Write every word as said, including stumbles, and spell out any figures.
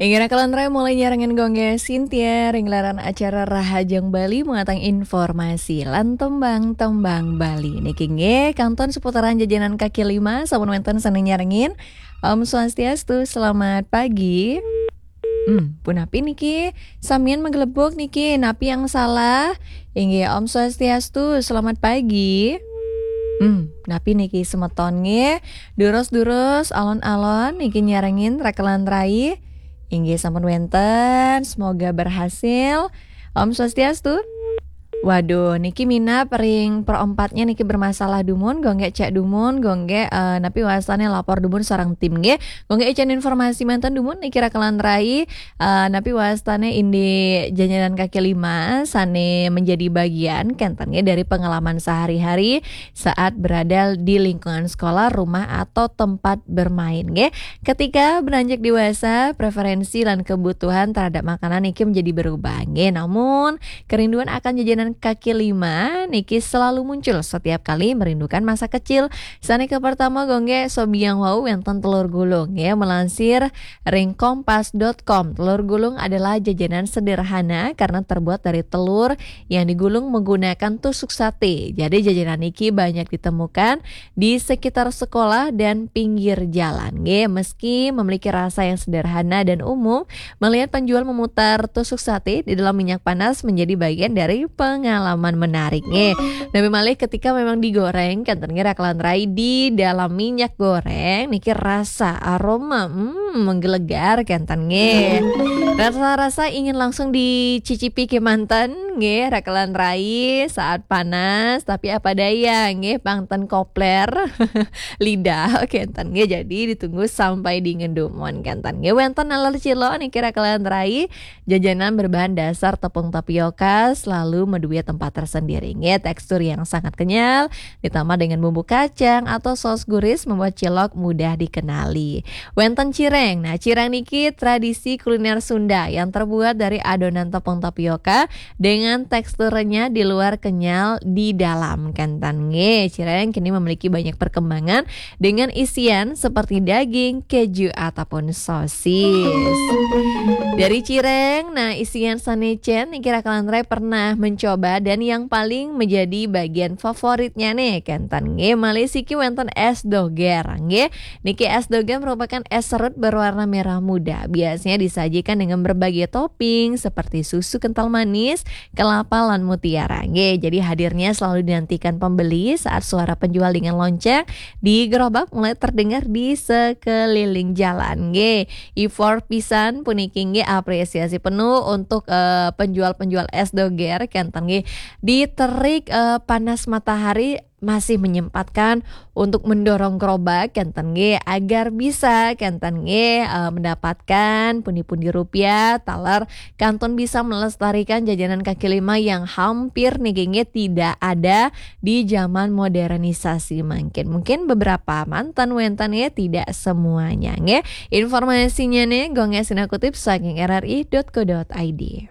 Inggih, rakan lantarai mulai nyarengin gong nggih Sintia ring gelaran acara Rahajeng Bali, muatan informasi lan tembang-tembang Bali. Niki nggih kantun seputaran jajanan kaki lima, sampun wenten sane nyarengin. Om Swastiastu, selamat pagi. Hmm, punapi niki? Samian maglebug niki, napi yang salah? Inggih, Om Swastiastu, selamat pagi. Hmm, napi niki semeton nggih? Durus-durus, alon-alon niki nyarengin rakan lantarai. Inggih, sampun wenten, semoga berhasil. Om Swastiastu. Waduh, niki minab ring perempatnya niki bermasalah dumun, gong nggih cek dumun, gong nggih, eh, napi wastane lapor dumun sareng tim nggih. Gong nggih icen informasi manten dumun niki rakan lantarai, eh, napi wastane indik jajanan kaki lima sane menjadi bagian kenten nggih dari pengalaman sehari-hari saat berada di lingkungan sekolah, rumah, atau tempat bermain nggih. Ketika beranjak dewasa, preferensi lan kebutuhan terhadap makanan niki menjadi berubah nggih. Namun, kerinduan akan jajanan kaki lima niki selalu muncul setiap kali merindukan masa kecil. Sane ke pertama gong nggih sobiang wau wenten telur gulung nggih, melansir ring kompas dot com. Telur gulung adalah jajanan sederhana karena terbuat dari telur yang digulung menggunakan tusuk sate. Jadi jajanan niki banyak ditemukan di sekitar sekolah dan pinggir jalan nggih. Meski memiliki rasa yang sederhana dan umum, melihat penjual memutar tusuk sate di dalam minyak panas menjadi bagian dari pengalaman menarik nggih. Napi malih ketika memang digoreng, kenten nggih rakan lantarai, di dalam minyak goreng niki rasa aroma, hmm, menggelegar kenten nggih. Rasa-rasa ingin langsung dicicipi kemanten nggih rakan lantarai saat panas, tapi apa daya nggih, pang ten kopler lidah kenten nggih. Jadi ditunggu sampai dingin dumun kenten nggih. Wenten naler cilok niki rakan lantarai, jajanan berbahan dasar tepung tapioka selalu maduwe tempat tersendiri nggih. Tekstur yang sangat kenyal ditambah dengan bumbu kacang atau saus gurih membuat cilok mudah dikenali. Wenten cireng. Nah, cireng niki tradisi kuliner Sunda yang terbuat dari adonan tepung tapioka dengan teksturnya di luar kenyal, di dalam kenten nggih. Cireng kini memiliki banyak perkembangan dengan isian seperti daging, keju, ataupun sosis. Dari cireng, nah, isian sane cen niki rakan lantarai pernah mencoba dan yang paling menjadi bagian favoritnya nih, kenten nggih, malih siki wenten es doger nggih. Niki es doger merupakan es serut berwarna merah muda. Biasanya disajikan dengan berbagai topping seperti susu kental manis, kelapa, lan mutiara nggih. Jadi hadirnya selalu dinantikan pembeli saat suara penjual dengan lonceng di gerobak mulai terdengar di sekeliling jalan nggih. Effort pisan puniki nggih, apresiasi penuh untuk, eh, penjual-penjual es doger kenten nggih. Di terik, eh, panas matahari masih menyempatkan untuk mendorong gerobak kenten nggih agar bisa kenten nggih, eh, mendapatkan pundi-pundi rupiah taler kantun bisa melestarikan jajanan kaki lima yang hampir niki nggih tidak ada di zaman modernisasi mangkin. Mungkin beberapa manten wenten nggih, tidak semuanya nggih. Informasinya nih gong nggih sinakutip saking R R I dot co dot I D.